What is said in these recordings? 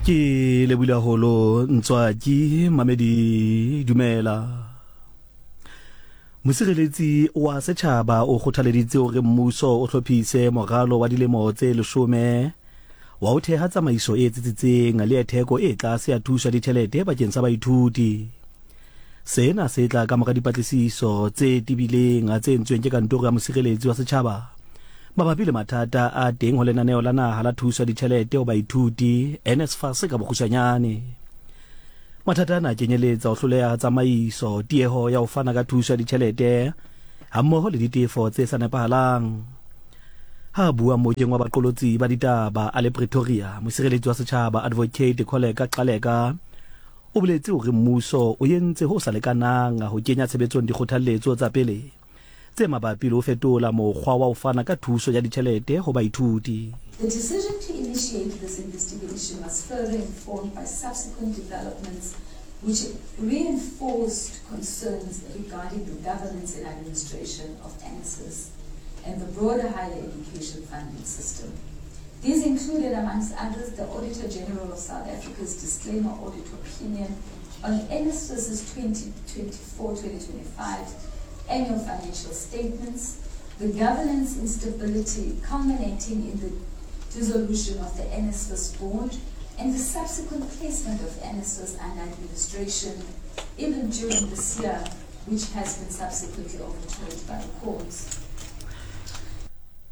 Ke lebile haholo Ntswaki Mamedi dumela. Mosireletsi wa setjhaba o kgothaleditse hore mmuso o hlophise moralo wa dilemo tse leshome wa ho theha tsamaiso e tsitsitseng le ya theko e tlase ya thuso ya ditjhelete bakeng sa baithuti. Sena se tla ka mora dipatlisiso tse tebileng tse entsweng ke kantoro ya mosireletsi wa setjhaba mabapi le mathata a teng ho lenaneo la naha la thuso ya ditjhelete ho baithuti, NSFAS ka bokgutshwanyane. Mathata ana a kenyeletsa ho hloleha ha tsamaiso, tieho ya ho fana ka thuso ya ditjhelete hammoho le ditefo tse sa nepahalang. Ha a bua mokeng wa baqolotsi ba ditaba a le Pretoria, mosireletsi wa setjhaba Advocate Kholeka Gcaleka o boletse hore mmuso o entse ho sa lekanang ho kenya tshebetsong dikgothalletso tsa pele tse mabapi le ho fetola mokgwa wa ho fana ka thuso ya ditjhelete ho baithuti. The decision to initiate this investigation was further informed by subsequent developments which reinforced concerns regarding the governance and administration of NSFAS and the broader higher education funding system. These included, amongst others, the Auditor General of South Africa's disclaimer audit opinion on NSFAS's 2024-2025 annual financial statements, the governance instability culminating in the dissolution of the NSFAS board, and the subsequent placement of NSFAS under administration even during this year, which has been subsequently overturned by the courts.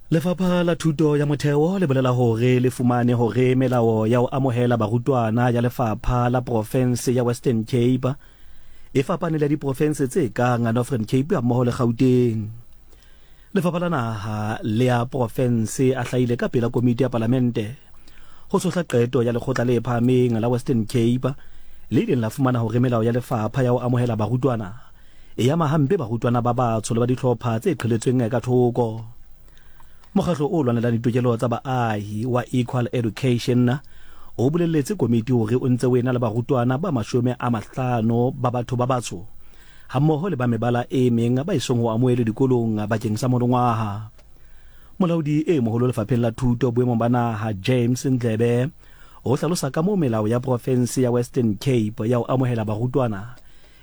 Lefapha la Thuto ya Motheo le bolela hore le fumane hore melao ya ho amohela barutwana ya lefapha la profense ya Western Cape e fapane le ya diprofense tse kang Northern Cape hammoho le Gauteng. Lefapha la Naha le ya profense a hlahile ka pela komiti ya palamente ho tshohla qeto ya lekgotla le phahameng la Western Cape le ileng la fumana hore melao ya lefapha ya ho amohela barutwana e ama hampe barutwana ba batsho le ba dihlopha tse qheletsweng ka thoko. Mokgatlo o lwanelang ditokelo tsa baahi wa Equal Education o boleletse komiti hore o ntse o ena le barutwana ba 50 ba batho ba batsho hammoho le ba mebala e meng ba esong ho amohelwe dikolong bakeng sa monongwaha. Molaodi e moholo lefapheng la thuto boemong ba naha James Ndlebe o hlalosa kamoo melao ya profense ya Western Cape ya ho amohela barutwana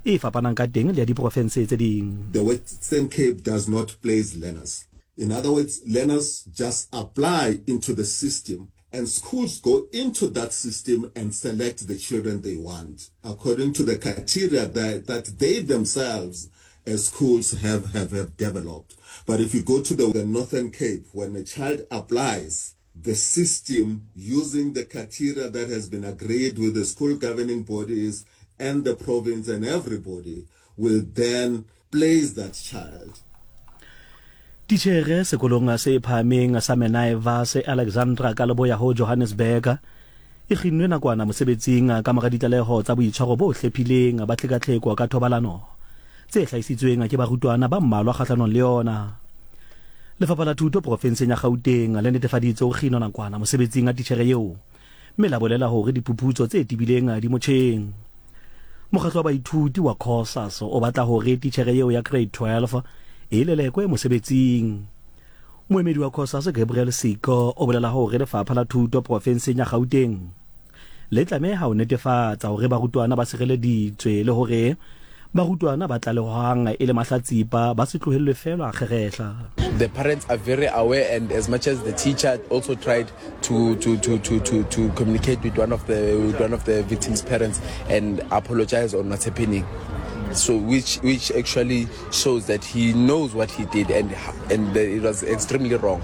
e fapanang ka teng le ya diprofense tse ding. The Western Cape does not place learners. In other words, learners just apply into the system and schools go into that system and select the children they want according to the criteria that, that they themselves as schools have, have, have developed. But if you go to the, the Northern Cape, when a child applies, the system using the criteria that has been agreed with the school governing bodies and the province and everybody will then place that child. Titjhere sekolong se phahameng sa Meniva se Alexandra ka leboya ho Johannesburg e kginnwe nakwana mosebetsing ka mora ditlaleho tsa boitshwaro bo hlephileng ba tlhekatlheko ka thobalano tse hlahisitsweng ke barutwana ba mmalwa kgahlanong le yona. Lefapha la Thuto porofenseng ya Gauteng le netefaditse ho kginwa nakwana mosebetsing a titjhere eo mme la bolela hore diphuputso tse tebileng di motjheng. Mokgatlo wa baithuti wa Cosas o batla hore titjhere eo ya Grade 12 e lelekwe mosebetsing. Moemedi wa Cosas Gabriel Siko o bolela hore lefapha la thuto porofenseng ya Gauteng le tlameha ho netefatsa hore barutwana ba sireleditswe le hore barutwana ba tlalehwang e le mahlatsipa ba se tlohellwe feela kgerehla. The parents are very aware and as much as the teacher also tried to to to to to to communicate with one of the with one of the victim's parents and apologize on what's happening. So which which actually shows that he knows what he did and and it was extremely wrong.